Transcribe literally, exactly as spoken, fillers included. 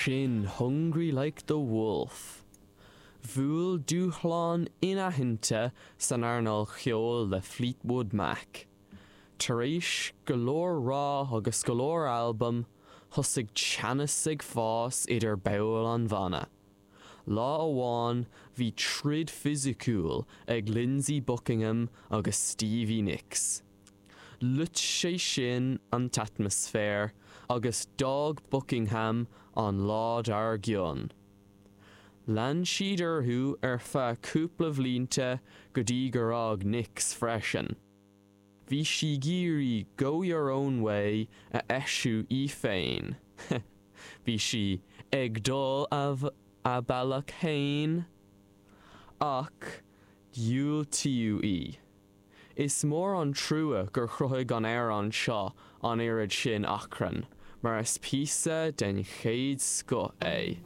Sin Hungry Like the Wolf. Bhuail dúshlán inaitheanta san earnáil cheoil le Fleetwood Mac. Tar éis go leor rath agus go leor albam, thosaigh teannas ag fás idir baill an bhanna. Lá amháin bhí troid fisiciúil ag Lindsey Buckingham agus Stevie Nicks. Loit sé sin an t-atmaisféar agus d'fhág Buckingham an lá dár gcionn. Lean siad orthu ar feadh cúpla blianta go dtí gur fhág Nicks freisin. Bhí sí ag iarraidh Go Your Own Way a eisiú í féin. Bhí sí ag dul a, a bealach féin ach diúltaíodh í. Is mór an trua gur chruthaigh an t-amhrán seo an oiread sin achrainn, mar is píosa den chéad scoth é.